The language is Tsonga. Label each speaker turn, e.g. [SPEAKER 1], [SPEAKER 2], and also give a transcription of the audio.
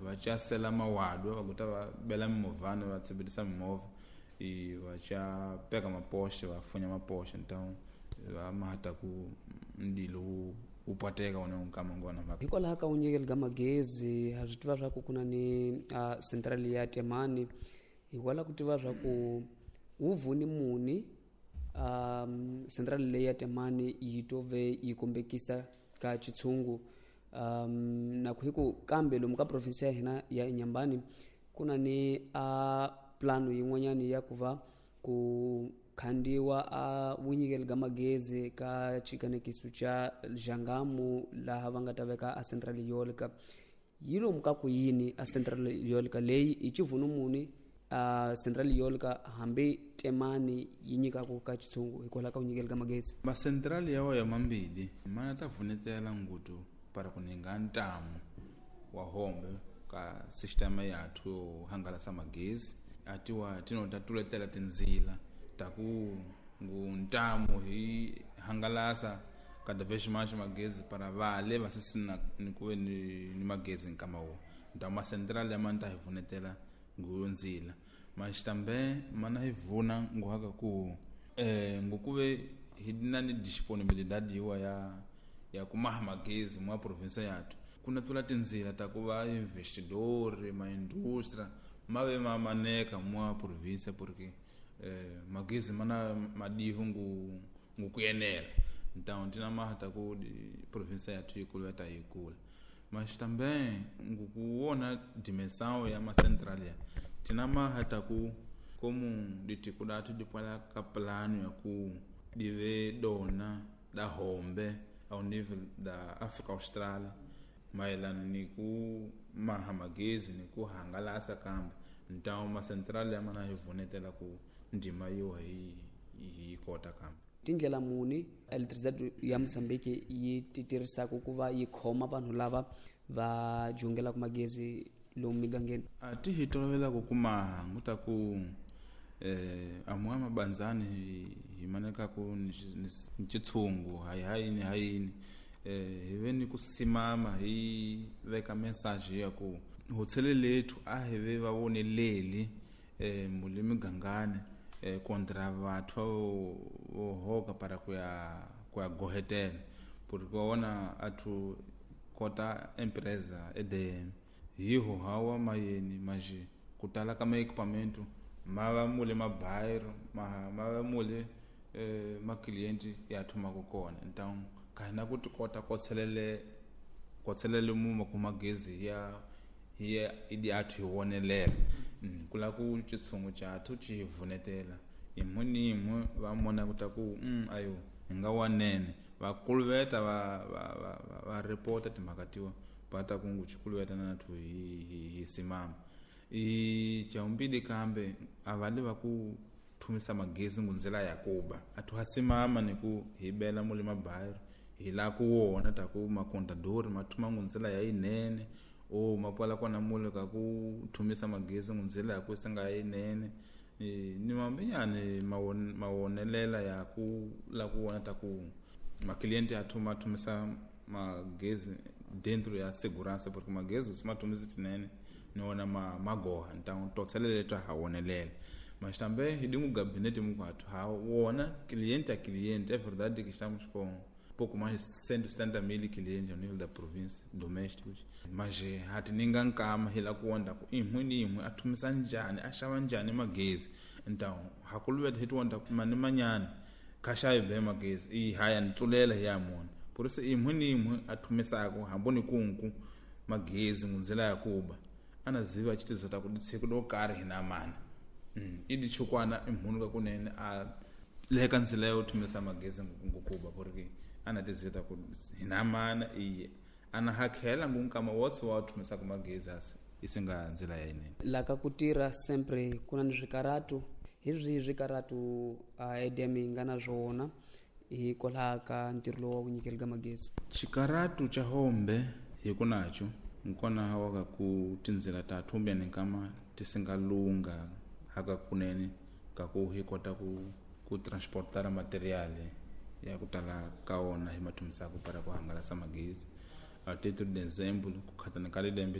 [SPEAKER 1] Va casela mawadwa va kuta va bela mimovhana va tsibirisa mimovha e va ca peka mapoxe va funya mapoxe, então va mata ku ndilo wu pateka wona nkama ngona mhaka.
[SPEAKER 2] Hikwalaho ka vunyikeli ka magezi ha swi tiva swa ku ku na ni central ya Temane, hikwalaho ku tiva swa ku wu vuni muni central leyi ya Temane yi to ve yi kombekisa ka xitshungu na ku hi ku kambe lomu ka province ya hina ya Inhambane ku na ni a plano yin'wanyana ya ku va ku khandiwa a vunyikeli ka magezi ka xikanekiso xa Xangamu laha va nga ta veka a central eolica. Yi lomu ka ku yini a central eolica leyi i xivunu muni a central eolica hambi Temane yi nyikaku ka xitshungu hikwalaho ka vunyikeli ka magezi?
[SPEAKER 1] Ma central ya wa ya mambili mana ta vunetela ngutu para ku ninga ntamu wa hombe ka sistema yathu yo hangalasa magezi atiwa tinota tuletela tindzila ta ku ngu ntamu hi hangalasa cada vez mais magezi para vale va sisina ni kuve ni magezi nkama wo ntamu ma central ya manta hi vunetela ngu ndzila mas também mana hi vuna ngu haka ku ngu kuve hi na ni disponibilidade yiwa ya kumaha magezi mwa province yathu kuna tula tindzila ta ku va investidori ma industria ma ve ma maneka mwa province porque magezi mana madihu ngu kuyenela. Então tina maha ta ku province yathu yikulu ta yikula mas também ngu kuona dimensão ya ma central ya tina maha ta ku como ditiko datu dipwala ka plano ya ku dive dona da hombe ao nível da África Austral mayelana ni ku maha magezi ni ku hangalasa kambe. Então ma central ya mana hi vunetela ku ndima yo hi kota kambe.
[SPEAKER 2] Tindlela muni electricity ya Mozambique yi ti tirhisaka ku va yi khoma vanhu lava va jungelaka magezi lomu migangeni?
[SPEAKER 1] A ti hi tolovela ku kuma nguta ku amuwa mabanzani hi maneka ku ni xitshungu hayi hayini hayini hi ve ni ku simama hi veka message ya ku hotshele lethu a hi ve va voneleli muli migangani kontra vathu vo hoka para ku ya gohetela porque wa vona athu kota empresa EDM hiho hawa mayeni maji ku tala ka ma-equipamento ma va mule mabayiro ma va mule ma-cliente ya thumaka kona. Então ka hina ku ti kota kotselele muma ku magezi ya hi idi athu hi wonelela ku la ku xitshungu xa athu xi vunetela imwe ni imwe va mona ku ta ku ayo hi nga wanene va kuluveta va report timhaka tiwa va ta ku ngu xikuluveta na nathu hi simama. I chaumbili kambe a va le va ku thumisa magezi ngu ndzela ya kuba athu ha simama ni ku hi bela mule mabayiro hi la ku wona ta ku makontadori ma thuma ngu ndzela ya yinene o mapwala kona mule ka ku thumisa magezi ngu ndzela ya ku singa yinene ni mambinyani mawonelela ya ku la ku wona ta ku makliente ya thuma thumisa magezi dentro ya segurança porque magezi se mathumisa tinene ni wona magoha então totselele ta ha wonelela. Mas também hi dingu gabinete mukwathu ha wona cliente a cliente é verdade que estamos com pouco mais de 170 mil clientes ao nível da província domésticos, mas hati ninga nkama hi la ku wonda ku imwe ni imwe a thumisa njhani a xava njhani magezi. Então hakuluweta hi ti wonda ku mani manyana kha xavi be magezi i haya ni tsulela hi ya mona por isso imwe ni imwe a thumisaka hambo ni kunku magezi ngundzela ya kuba ana ziva chitizo ta ku siku do karhi hi na mana i di chukwana imhunu ka kunene a leka ndzela yo thumisa magezi ngukuba porque ana tizeta ku hi na mana iye ana hakhela ngunkama wotse wa thumisa ku magezi asi isinga ndzela ya yinene.
[SPEAKER 2] Laka ku tirha sempre ku na ni swikaratu hi swihi swikaratu EDM yi nga na swona hikwalaho ka ntirho lowu wa ku nyikela ka magezi?
[SPEAKER 1] Xikaratu xa hombe hi ku nacho nkona hawa ka ku tindzela ta thumbeni nkama ti singa lunga haka kunene ka ku hi kota ku transportara materiale ya ku tala ka wona hi mathumisaka para ku hangalasa magezi. A 3 de dezembro ku khatana ka lembe